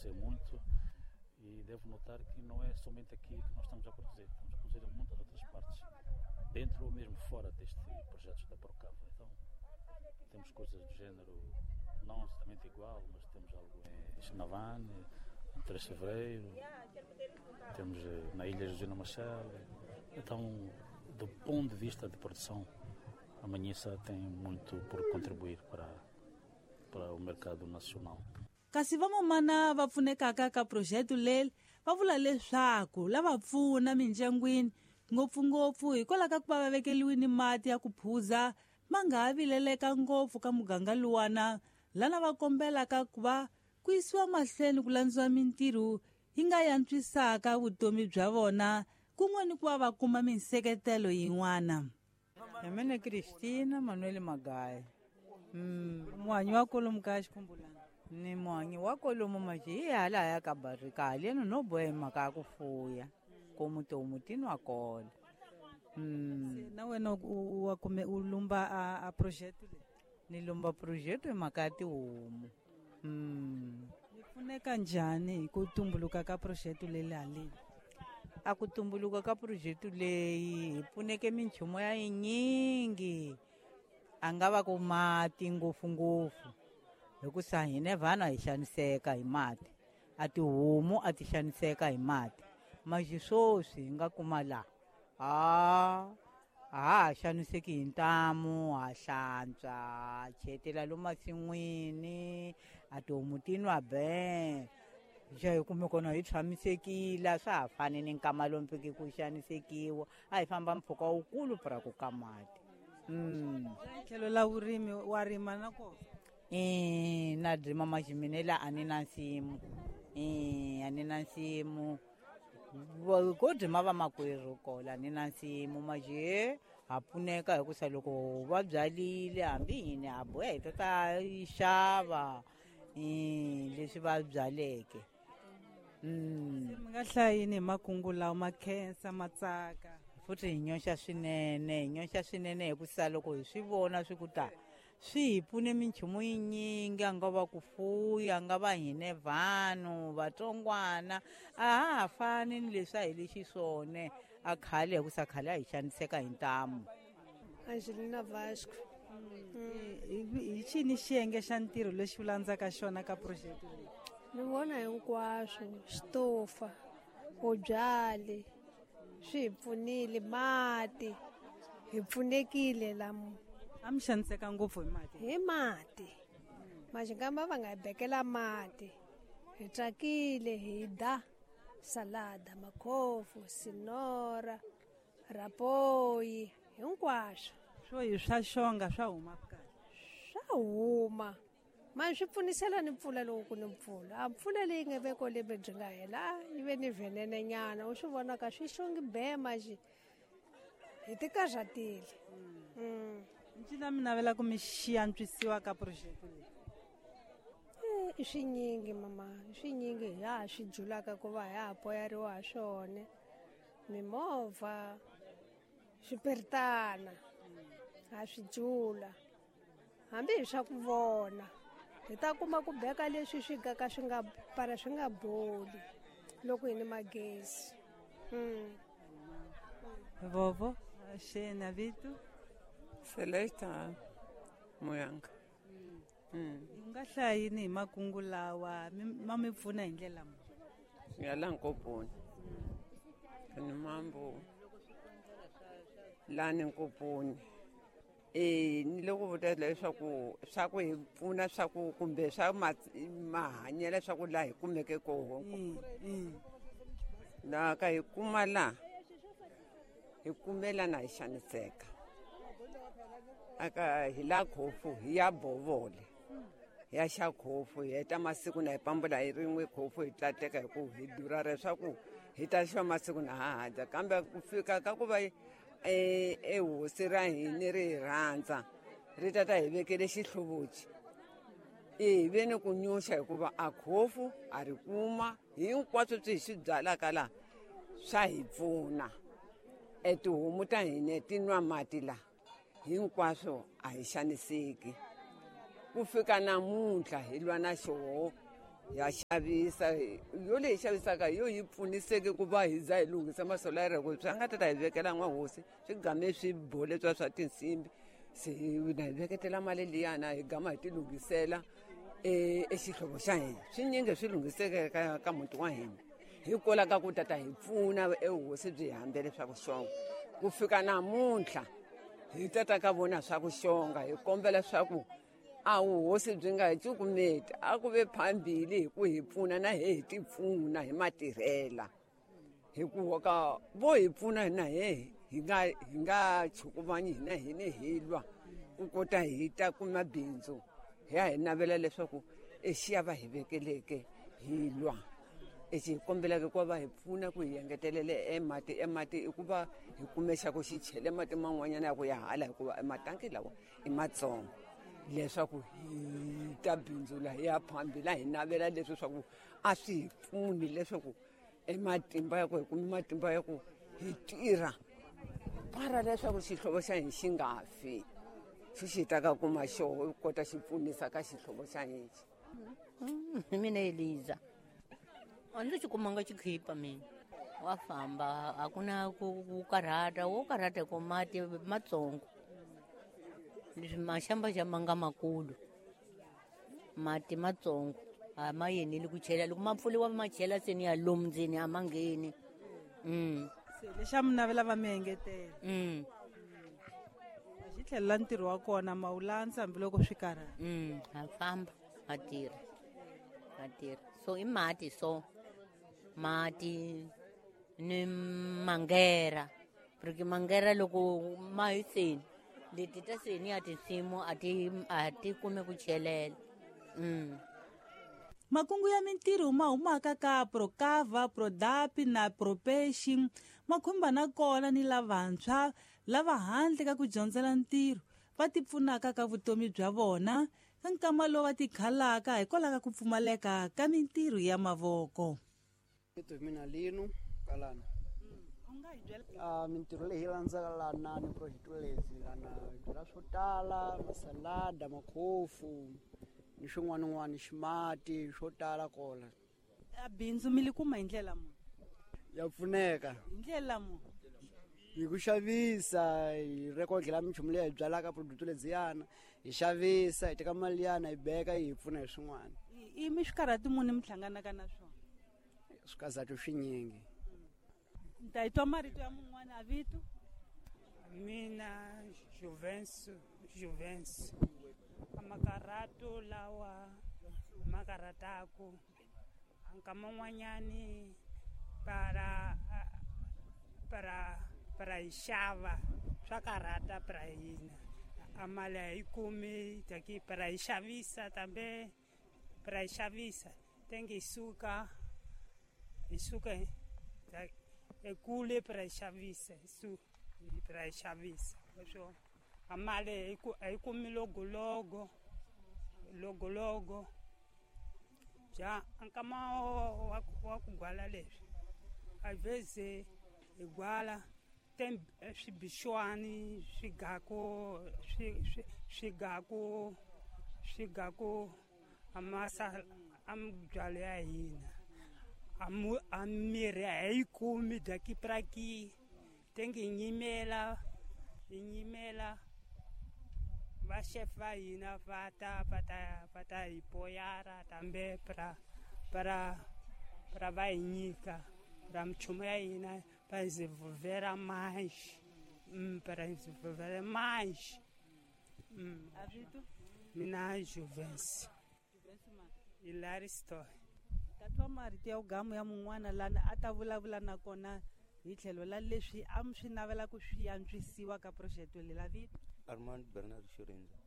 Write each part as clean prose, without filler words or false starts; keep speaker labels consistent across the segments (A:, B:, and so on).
A: crescer muito e devo notar que não é somente aqui que nós estamos a produzir, estamos a produzir em muitas outras partes, dentro ou mesmo fora deste projeto da Procava. Então, temos coisas do género não exatamente igual, mas temos algo em Xinavane, em 3 de Fevereiro, temos na Ilha José Machel. Então, do ponto de vista de produção, a Manhiça tem muito por contribuir para o mercado nacional.
B: Kasi van'wamana va pfunekaka ka phurojeke leri va vula leswaku lava pfuna mindyangwini ngopfungopfu hikwalaho ka ku va va vekeliwile mati ya ku phuza ma nga ha vileleka ngopfu ka muganga luwana lana va kombelaka ku va ku yisiwa mahlweni ku landziwa mintirho yi nga yantswisaka vutomi bya vona kun'we ni ku va va kuma minseketelo yin'wana.
C: Mina Cristina Manuel Magaya.
B: Muhanyi wa kolomu ka Xikhumbulani.
C: Ni muhanyi wa kolomu maji hi hala ya ka Barika haleno no boha mhaka ya ku fuya komu tihomu ti nwa kona.
B: Na wena wa kume u lumba a project leyi?
C: Ni lumba project hi mhaka ya tihomu.
B: Mi pfuneka njhani hi ku tumbuluka ka project leyi haleni?
C: A ku tumbuluka ka project leyi hi pfuneke minchumu ya yinyingi, a nga va ku mati ngopfungopfu hikusa hina vana hi xaniseka hi mati, a tihomu a ti xaniseka hi mati. Maxi sweswi hi nga kuma laha a ha xaniseki hi ntamu, ha hlantswa, ha chetela lomu masin'wini, a tihomu ti nwa be xa hi kume kona hi tshamisekile, a swa ha fani ni nkama lomu pfiki ku xanisekiwa, a hi famba mpfhuka wukulu pra ku ka mati.
B: Tlhelo la vurimi wa rima na kona?
C: Na rima maximini la a ni na nsimu. A ni na nsimu. Ko rima vamakwerhu kola a ni na nsimu maxi ha pfuneka hikusa loko va byalile hambi hina ha boha hi ta ta xava leswi va byaleke.
B: Mi nga hlayini hi makungu lawa ma khensa ma tsaka.
C: Futhi hi nyoxa swinene, hi nyoxa swinene hikusa loko hi swi vona swi ku ta swi hi pfune minchumu yinyingi, a nga va ku fuya, a nga va hine vanhu vatsongwana, a ha ha fani ni leswi a hi le xiswona a khale, hikusa khale a hi xaniseka hi ntamu.
D: Angelina Vasco.
B: Hi xini xiyenge xa ntirho lexi u landzaka xona ka project leyi?
D: Ni vona hinkwaswo, xitofa, vubyali, swi hi pfunile, mati, hi pfunekile lamo.
B: A mi xaniseka ngopfu hi mati?
D: Hi mati. Maxingamba va nga hi bekela mati. Hi tsakile, hi da salada, makhofu, sinora, rapoyi, hinkwaswo.
B: Swo hi swa xonga swa huma kahle?
D: Swa huma. Mani swi pfunisela ni mpfula loko ku ni mpfula. A mpfula leyi nga veko lembe byi nga hela, yi ve ni venene nyana, u swi vona ka swi xongi be maxi. Hi ti karhatile.
B: Ncila mi navela ku mi xiantswisiwa ka project leyi?
D: I swinyingi mama, i swinyingi hi ha swi julaka ku va hi ha poyariwa ha swona. Mimovha, swipiritana, ha swi jula. Hambi hi swa ku vona, hi ta kuma ku beka leswi swi gaka swi nga para swi nga boli loko hi ni magezi.
B: Vovo, xena vito?
E: Celesta Muyanga.
B: U nga hlaya yini hi makungu lawa ma mi pfuna hi ndlela muni?
E: Ya la Nkoponi. Ni mambo la ni Nkoponi. Ni loko vuta leswaku swa ku hi pfuna swa ku kumbe swa mahanyelo swa ku laha hi kumeke koho. La ka hi kuma la hi kumelana hi xaniseka. Aka hi la khofu hi ya bovole. Ya xa khofu hi heta masiku na hi pambula hi rin'we khofu hi tlateka hi ku hi durha leswaku hi ta xava masiku na ha dya, kambe ku fika ka ku va ehosi ra hina ri hi rhandza ri ta ta hi vekele xihluvuchi. Hi ve ni ku nyuxa hikuva a khofu a ri kuma hinkwaswo swi hi swi byalaka laha swa hi pfuna. Tihomu ta hina ti nwa mati laha hinkwaswo a hi xaniseki. Ku fika namuntlha hi lwa na xoho Ya xavisa yo leyi xavisaka yo yi pfuniseke ku va hi za hi lunghisa masolara ku swi nga ta ta hi vekela n'wahosi swi game swi bole swa swa tinsimbi se na hi veketela mali liyana hi gama hi ti lunghisela exihlovo xa hina swinyingi swi lunghiseke ka muti wa hina hikwalaho ka ku tata hi pfuna ehosi byi hambele swa ku xonga ku fika namuntlha hi tata ka vona swa ku xonga hi kombela swa ku a vuhosi byi nga hi cukumeti a ku ve phambili hi ku hi pfuna na he hi ti pfuna hi matirhela hikuva ka vo hi pfuna na he hi nga chukumanyi hina hine hi lwa ku kota hi ta kuma bindzu hi ya hi navela leswaku exiya va hi vekeleke hi lwa exi hi kombelaka ku va hi pfuna ku hi engetelele emati emati i ku va hi kume xa ku xi chele mati man'wanyana ya ku ya hala hikuva ematanki lawa i matsongo leswaku hi ta bindzula hi ya phambila hi navela leswi swa ku a swi hi pfuni leswaku ematimba ya ku hi kume matimba ya ku hi tirha para leswaku xihlovo xa hina xi nga fi xi xi ta ka kuma xoho kota xi pfunisa ka xihlovo xa hina.
F: Mina Eliza a ndzi xi kumanga xikhipa mina wa famba a ku na ku karhata wo karhata hi ku mati matsongo leswi maxamba xa ma nga makulu mati matsongo a ma yeneli ku chela loko ma pfuliwa ma chela se ni ya lomu ndzeni a ma ngheni.
B: Se lexa mi navela va mi engetela xi tlhelela ntirho wa kona ma wu landza hambiloko swi karhata.
F: Ha famba ha tirha ha tirha so i mati so mati ni mangera porque mangera loko ma hi seni leti ta seni ya tinsimu a ti kume ku chelela.
B: Makungu ya mintirho ma humaka ka Procava, Prodap na Propeixe ma khumba na kona ni lavantshwa lava handle ka ku dyondzela ntirho va ti pfunaka ka vutomi bya vona ka nkama lowu va tikhalaka hikwalaho ka ku pfumaleka ka mintirho ya mavoko.
G: Vito mina Lino Kalana. Mintirho leyi landzaka lana ni project lezi lana byala swo tala masalada makhofu ni swin'wana ximati swo tala kola.
B: A bindzu mi li kuma hi ndlela muni?
G: Ya pfuneka
B: hi ndlela muni?
G: Hi ku xavisa hi rekodlela minchumu leyi hi byalaka product ledziyana hi xavisa hi teka mali yana hi beka yi hi pfuna hi swin'wana.
B: I mi swikarhati muni mi hlanganaka na swona?
G: Swikazatu swinyingi.
B: Ni ta yi twa marito ya mun'wana a vito.
H: Mina Juvencio amakarato lawa makarataku nkama n'wanyani para para para hi xava swa karhata para hina a mali a yi kumi taki para hi xavisa tambe para hi xavisa tenge hi suka ekule para hi xavisa para hi xavisa leswo a mali a yi kumi logologo ja nkama wa ku gwala leswi a veze hi gwala tem swibixwani swigaku amasa ambyalo ya hina a mirhi a yi kumi dakipraki tenge hi nyimela va chef va hina va ta hi poyara tambe para va hi nyika para minchumu ya hina para desenvolver mais para desenvolver mais. Mina Juvencio Hilary Stoy.
B: Tatwa marito ya ugamu ya mun'wana lana a ta vulavula na kona hi tlhelo la leswi a mi swi navela ku swi antswisiwa ka project leyi la vito.
I: Armand Bernard Shirindza.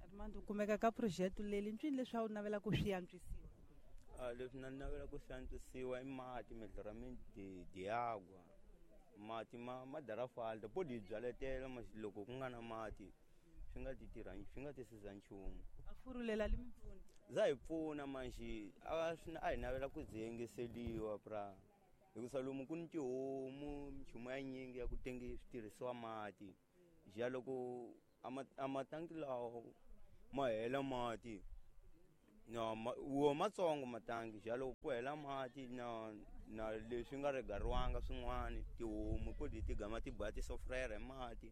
B: Armand u kumeka ka project leyi ncini leswi a wu navela ku swi antswisiwa?
I: Leswi na navela ku swi antswisiwa i mati melhoramento de água. Mati ma darafalta po di byaletela loko ku nga na mati swi nga ti tirha swi nga tisiza nchumu.
B: A furulela li mi pfuna?
I: Za hi pfuna manjhe a hi navela ku byi engeseliwa pra hikusa lomu ku ni tihomu minchumu ya nyingi ya ku tenge switirhisiwa mati ja loko a matanki lawa ma hela mati No wo matsongo matangi xa loko ku hela mati na na leswi nga regariwanga swin'wana tihomu podi ti gama ti boha ti sofrera hi mati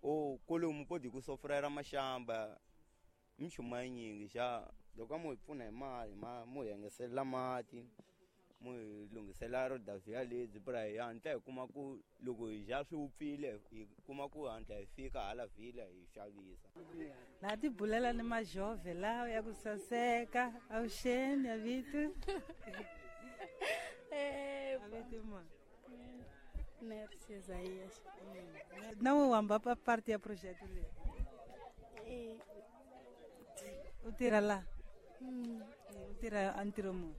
I: o kolomu podi ku sofrera maxamba minchumu ya yinyingi xa loko a mo hi pfuna hi mali ma mo hi engeselela mati mo hi lunghisela rodavhiya lebyi pra hi hatla hi kuma ku loko hi dya swi wupfile hi kuma ku hatla hi fika hala vhila hi xavisa.
B: Na ti bulela ni majove lawa ya ku saseka avuxeni avito avito ma
J: Merci Isaías.
B: Na we wamba pa parte ya projeto leyi. U tirha la? U tirha a ntirho muni?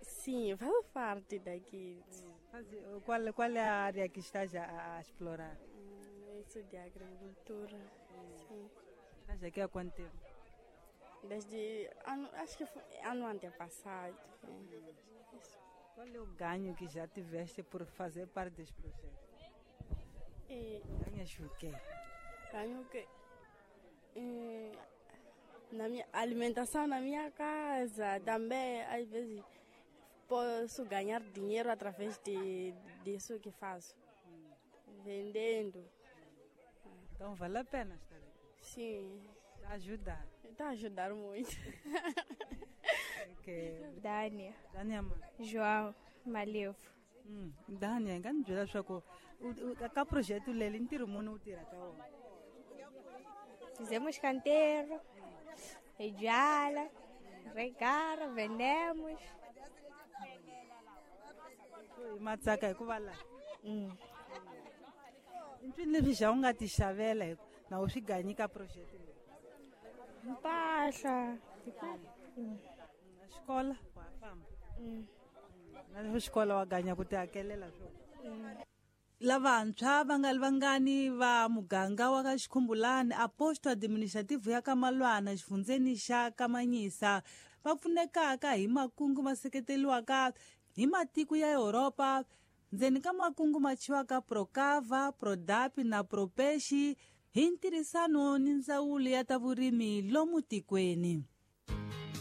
J: Sim, faço parte daqui.
B: Qual é a área que estás a explorar?
J: Isso de agricultura. Sim.
B: Estás aqui há quanto tempo?
J: Desde ano, acho que foi ano antepassado. Isso.
B: Qual é o ganho que já tiveste por fazer parte deste projeto? Ganhas o quê?
J: Ganho o quê? Na minha alimentação na minha casa também, às vezes posso ganhar dinheiro através disso que faço, vendendo.
B: Então vale a pena estar aqui?
J: Sim.
B: Está a ajudar?
J: Está a ajudar muito.
B: Okay.
K: Dania.
B: Dania ma?
K: João Malevo.
B: Dania, nga ni byela leswaku ka projeto leri ntirho muni wu tirhaka wona?
K: Fizemos canteiro, byala, regara, vendemos.
B: Hi matsaka hikuva laha i mpfini leswi xa u nga ti xavela na u swi ganyi ka project leyi?
K: Mpahla.
B: Na xikola wa famba? Na xikola wa ganya ku ti hakelela swona? Lavantshwa va nga ri vangani va muganga wa ka Xikhumbulani a posto administrativo ya ka Malwana xifundzeni xa Kamanyisa va pfunekaka hi makungu ma seketeriwaka hi matiko ya Europa ndzeni ka makungu ma thyiwaka Procava, Prodapi na Propexi hi ntirhisano ni ndzawulo ya ta vurimi lomu tikweni.